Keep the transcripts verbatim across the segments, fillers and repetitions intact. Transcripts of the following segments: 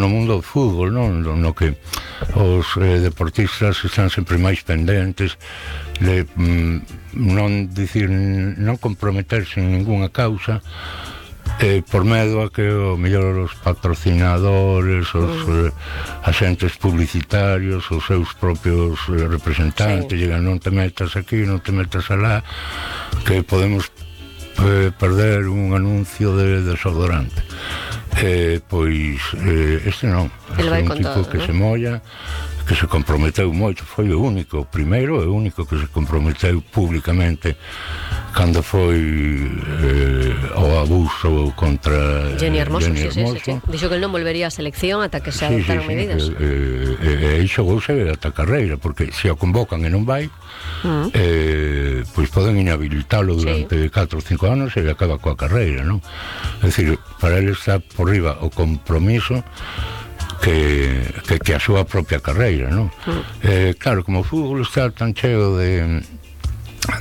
no mundo do fútbol, non? No que os eh, deportistas están sempre máis pendentes de mm, non dicir, non comprometerse en ningunha causa, eh, por medo a que o mellor os patrocinadores, os eh, agentes publicitarios, os seus propios eh, representantes, sí, digan non te metas aquí, non te metas alá, que podemos eh, perder un anuncio de desodorante. Eh, pois eh, este non, este é un tipo todo, que, ¿no?, se molla, que se comprometeu moito, foi o único, o primeiro e o único que se comprometeu públicamente cando foi eh, o abuso contra Jenny Hermoso, Jenny sí, Hermoso. Sí, sí, sí. Dixo que el non volvería a selección ata que se adoptaron sí, sí, medidas. E eh, eh, eh, xogouse ata a carreira, porque se a convocan e non vai, uh-huh, eh, pois poden inhabilitalo durante sí. catro ou cinco anos e acaba coa carreira, non? É dicir, para ele está por riba o compromiso que, que, que a súa propia carreira, non? Uh-huh. Eh, claro, como o fútbol está tan cheo de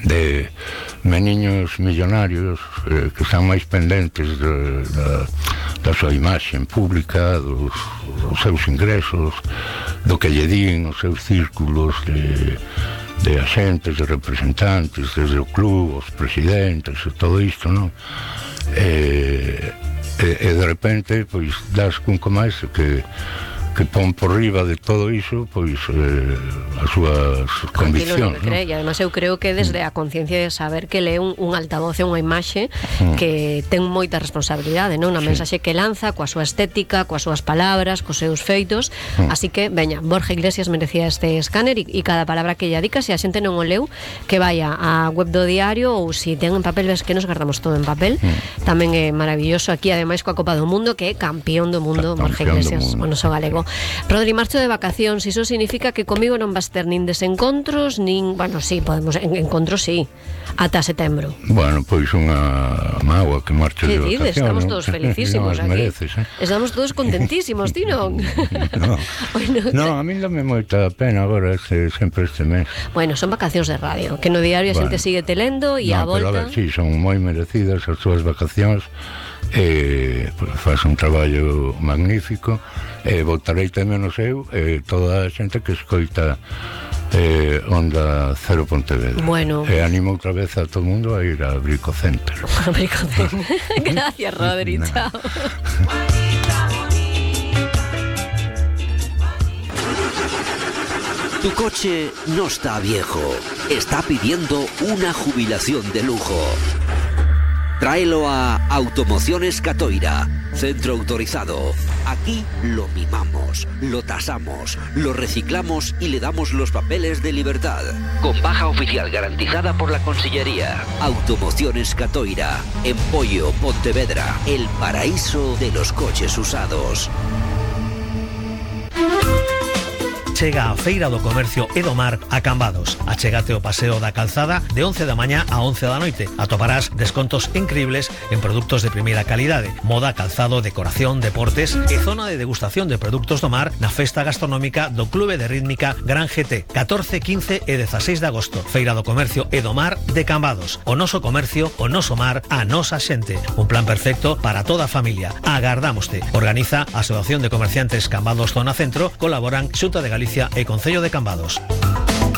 de meniños millonarios eh, que están máis pendentes de, da, da súa imaxe pública, dos, dos seus ingresos, do que lle din os seus círculos de, de agentes, de representantes, desde o club, os presidentes e todo isto, non? E, e, e de repente, pois, das cun máis que que pon por riba de todo iso, pois, eh, as súas conviccións, non? E además eu creo que desde a conciencia de saber que lee un, un altavoz e unha imaxe mm. que ten moita responsabilidade, non? Na sí. mensaxe que lanza, coa súa estética, coas súas palabras, cos seus feitos, mm. así que, veña, Borja Iglesias merecía este escáner e, e cada palabra que ella dica, se a xente non o leu, que vaya á web do diario ou se ten en papel, ves que nos guardamos todo en papel, mm. tamén é maravilloso aquí, ademais coa Copa do Mundo, que é campeón do mundo, Borja Iglesias, o noso galego. Rodri, marcho de vacacións, iso significa que comigo non vas ter nin desencontros, nin, bueno, sí, podemos, en, encontros sí, ata setembro. Bueno, pois unha mágoa que marche de vacacións. Estamos todos felicísimos no, aquí. Mereces, eh? Estamos todos contentísimos, ti non? No, bueno, no, a mí dame moita pena agora este, sempre este mes. Bueno, son vacacións de radio, que no diario a xente bueno, sigue telendo e no, a volta... Pero a ver, sí, son moi merecidas as túas vacacións. Eh, pues, faz un traballo magnífico e eh, voltarei tamén o seu e eh, toda a xente que escoita eh, Onda Cero Pontevedra. Bueno. E eh, animo outra vez a todo o mundo a ir a Brico Center. A Brico Center. Gracias, Rodri, no. Chao. Tu coche no está viejo, está pidiendo una jubilación de lujo. Tráelo a Automociones Catoira, centro autorizado. Aquí lo mimamos, lo tasamos, lo reciclamos y le damos los papeles de libertad. Con baja oficial garantizada por la Consellería. Automociones Catoira, en Pollo, Pontevedra, el paraíso de los coches usados. Chega a Feira do Comercio e do Mar a Cambados. Achégate o Paseo da Calzada de once da mañá a once da noite. Atoparás descontos increíbles en produtos de primeira calidade, moda, calzado, decoración, deportes e zona de degustación de produtos do mar na festa gastronómica do Clube de Rítmica Gran G T, catorce, quince e dezaseis de agosto. Feira do Comercio e do Mar de Cambados. O noso comercio, o noso mar, a nosa xente. Un plan perfecto para toda a familia. Agardámoste. Organiza a Asociación de Comerciantes Cambados Zona Centro, colaboran Xunta de Galicia e Concello de Cambados.